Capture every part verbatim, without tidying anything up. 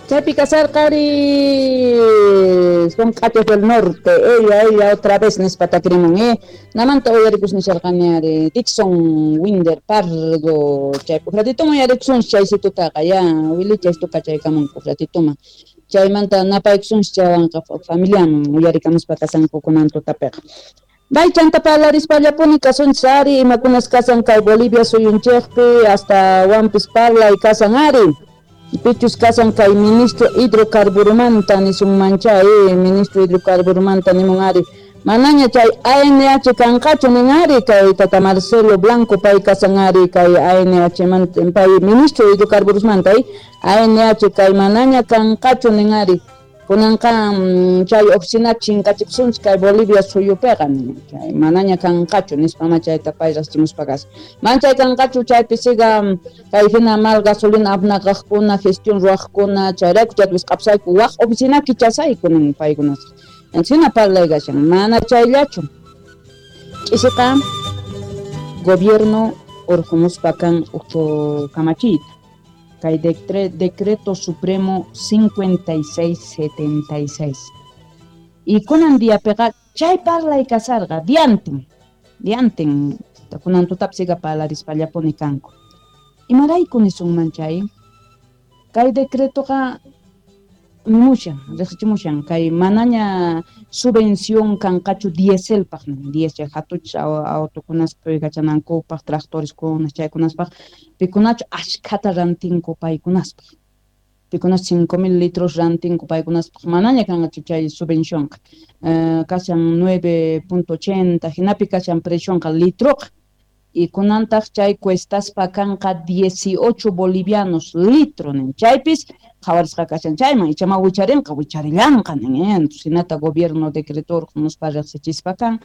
Chaypi kasarqari son Q'atos del Norte, ella, ella otra vez nispa takrimun, eh. Namanta uyarikus nisharqani ari Dixon Winder Pardo, chay ratito uyarikusun chaysitutaqa ya Wilicha tukachaykamunku ratituma. Chaymanta napaykusun chaywanqa familiaman uyarikamuspa kasanku kunan tutapiqa. Bay chanta parlarispallapuni kasunchis ari imakunas kasan kay Bolivia suyunchikpi hasta wampis parlay kasan ari. Pichus kasan kay ministro hidrocarburumanta nisunmancha eh, ministro hidrocarburumanta nimun ari. Manaña chay A N H kanqachu nin ari kay tata Marcelo Blanco pay kasan ari kay A N H manta pay ministro hidrocarburusmanta eh, A N H kay manaña kanqachu nin ari. Kunanqa chay oficina chinkachipsunchik kay Bolivia suyupiqa chay manaña kanqachu nispa ma chayta pay riqsichimuspa kasqa. Man chay kanqachu chaypi siga kay hina mal gasolina apnaqaqkuna gestión ruwaqkuna chayrayku chayta wisq'apsayku waq oficina kichasayku nin paykunasqa. Encina parlay kashan mana chayllachu. Ch'isiqa gobierno urqumuspa kan uj kamachiyta. Kay decreto supremo cincuenta y seis setenta y seis. Y kunan diapiqa chay parlay kasarqa diantin, diantin kunan tutapi siga parlarispallapuni kanku. Imarayku nisunman chay? Kay decretoqa nimushan, riqsichimushan kay manaña subvención kanqachu dieselpaq, diesel hatuchis autokunaspa puykachanankupaq, tractoreskuna chaykunaspaq, pikunachu ashkhata rantinku paykunaspaq. Pikunas cinco mil litros rantinku paykunaspaq manaña kanqachu chay subvencionqa. Uh, kashan nueve punto ochenta hinapi kashan precionqa litroqa. Y kunantaq chay cuestaspa kanqa dieciocho bolivianos litro nin. Chaypis qhawarisqa kashan chayman ichama wicharinqa wicharillanqa nin, eh? Entonces hinata gobierno decretó muspa riqsichispa kan.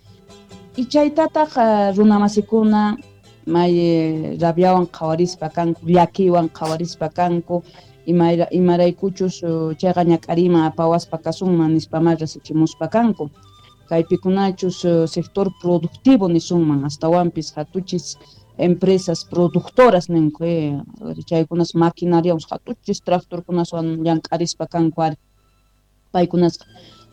Y chaytataq uh, runamasikuna may rabiawan qhawarispa kanku, llakiwan qhawarispa kanku, ima imaraykuchus uh, chayqa ñak'ariyman apawaspa kasunman nispa ma riqsichimuspa kanku. Kaypikunachus uh, sector productivo nisunman astawanpis hatuchis empresas productoras ninku, eh, chaykunas maquinariawan hatuchis tractorkunaswan llank'arispa kanku ari. Paykunasqa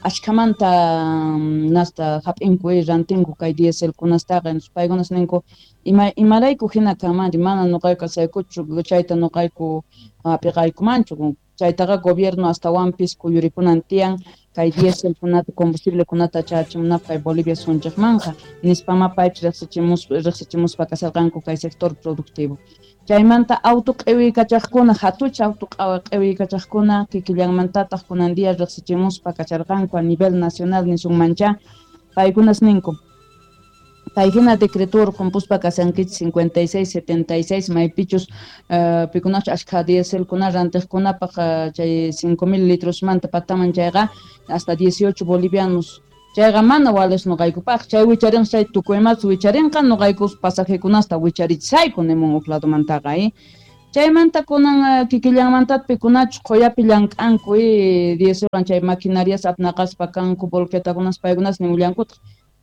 ashkhamanta nasta hap'inku, eh, rantinku kay dieselkunastaqa. Entonces paykunas ninku ima imarayku hina kanmanri mana nuqayku kasaykuchu chayta nuqayku hap'iqaykumanchu. Chaytaqa gobierno astawanpis kuyurikunan tiyan kay dieselkunata combustible-kunata chachimunapaq kay Bolivia sunchikmanqa nispama paypis riqsichimuspa riqsichimuspa kasarqanku kay sector productivo. Chaymanta auto q'iwiykachaqkuna hatucha auto q'iwiykachaqkuna kikillanmantataq kunan día riqsichimuspa kacharqanku a nivel nacional nisunmancha paykunas ninku. Kay hina decreto urqumpuspa kasankichis cincuenta y seis setenta y seis maypichus uh, pikunachu ashkha dieselkuna rantiqkunapaq uh, chay cinco mil litrosmanta pataman chayqa hasta dieciocho bolivianos chayqa mana wales nuqaykupaq chay wicharinqa chay tukuymas wicharinqa nuqaykus pasajekunasta wicharichisayku nimun huk ladomantaqa, eh. Chaymanta kunan uh, kikillanmanta pikunachu qhuyapi llank'anku, eh, dieselwan chay maquinarias apnaqaspa kanku volquetakunas paykunas nimullankutaq.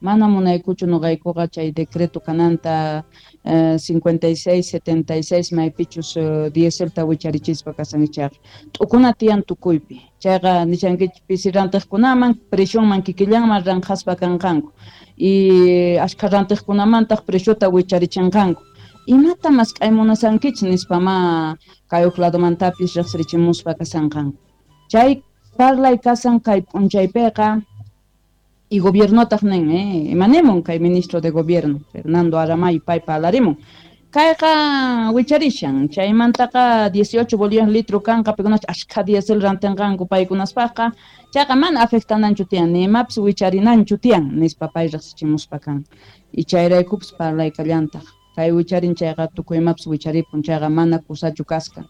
Mana munaykuchu nuqaykuqa chay decreto kananta uh, cincuenta y seis setenta y seis maypichus uh, dieselta wicharichispa kasankichayqa. T'ukuna tiyan tukuypi. Chayqa nishankichik pisi rantiqkunaman presionman kikillanman ranqaspa kanqanku. Y ashkha rantiqkunamantaq preciota wicharichinqanku. Imata mask'ay munasankichik nispa ma kay huk ladomantapis riqsirichimuspa kasanqanku. Chay parlay kasan kay p'unchaypiqa. Y gobierno taq nin, eh, imanemun kay ministro de gobierno Fernando Aramayo pay parlarimun. Kayqa wicharishan chaymantaqa dieciocho bolivianos litro kanqa paykunachu ashkha diesel rantinqanku paykunaspaqqa chayqa mana afectananchu tiyan ni imapis wicharinanchu tiyan nispa pay riqsichimuspa kan. Y chayraykupis parlaykallantaq kay wicharin chayqa tukuy imapis wicharipun chayqa mana kusachu kasqa.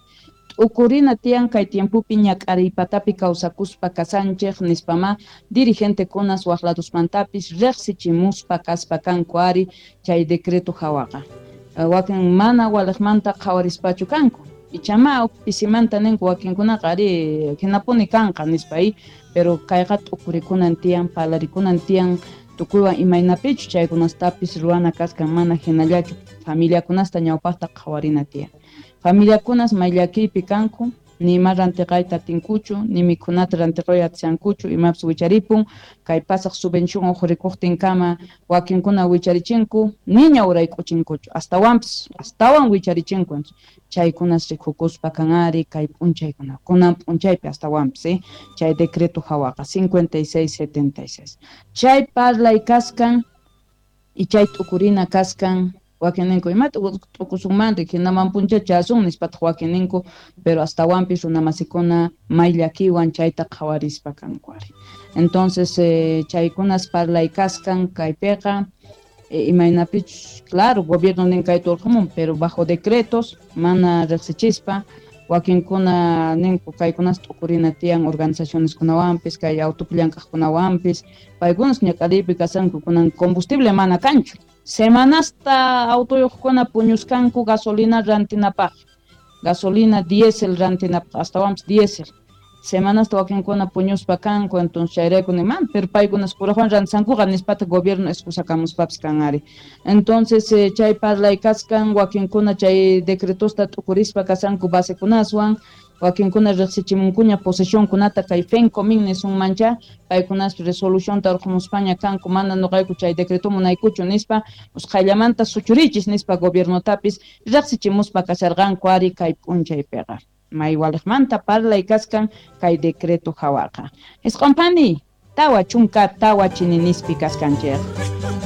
T'ukurina tiyan kay tiempopi ñak'ariypatapi kawsakuspa kasanchik nispama dirigentecunas waq ladosmantapis riqsichimuspa kaspa kanku ari chay decreto hawaqa. Wakin mana waliqmanta qhawarispachu kanku. Ichama pisimanta ninku wakinkunaqa ari hinapuni kanqa nispa, pero kayqa t'ukurikunan tiyan parlarikunan tiyan tukuywan imaynapichu chaykunastapis ruwana kaskan mana hinallachu familiakunasta ñawpaqta qhawarina tiyan. Familiakunas may llakiypi kanku Ni ima rantiqayta atinkuchu, ni mikhunata rantiqayta atishankuchu, imapis wicharipun, kay pasaq subvención uqurikuqtinkama wakinkuna wicharichinku, niña urayk'uchinkuchu, astawanpis astawan wicharichinku, chaykunas rikukuspa kanari kay p'unchaykuna, kunan p'unchaypi astawanpis, eh? Chay decreto hawaqa cincuenta y seis setenta y seis. Chay parlay kaskan y chay t'ukurina kaskan, wakininku imata t'ukusunmanri hinaman punchachasun nispataq wakininku, pero astawanpis runamasikuna may llakiwan chayta qhawarispa kanku ari. Entonces eh, chaykunas parlay kaskan kaypiqa, eh, imaynapichus, claro, gobierno nin kayta urqhumun, pero bajo decretos mana riqsichispa, wakinkuna ninku kaykunas t'ukurina tiyan organizacioneskunawanpis, kay autopi llank'aqkunawanpis, paykunas ñak'ariypi kasanku, kunan combustible mana kanchu. Semanasta autoyuqkuna puñuskanku gasolina rantinapaq, gasolina diésel rantinapaq, astawanpis diésel. Semanasta wakinkuna puñuspa kanku, entonces chayrayku niman, pero paykunas purajuan rantisankuqa nispata gobierno excusakamuspapis kan ari. Entonces eh, chay parlay kaskan wakinkuna chay decretosta t'ukurispa kasanku basekunaswan, wakinkuna riqsichimunkuña posesionkunata kay FENCOMIN nisunmancha, paykunas resolucionta urqhumuspaña kanku, mana nuqayku chay decreto munaykuchu nispa, usqhayllamanta suchurichis nispa gobiernotapis riqsichimuspa kasharqanku ari kay p'unchaypiqa. May waliqmanta parlay kaskan kay decreto hawaqa. Isq'unpani tawa chunka tawa chininispi kaskanchik.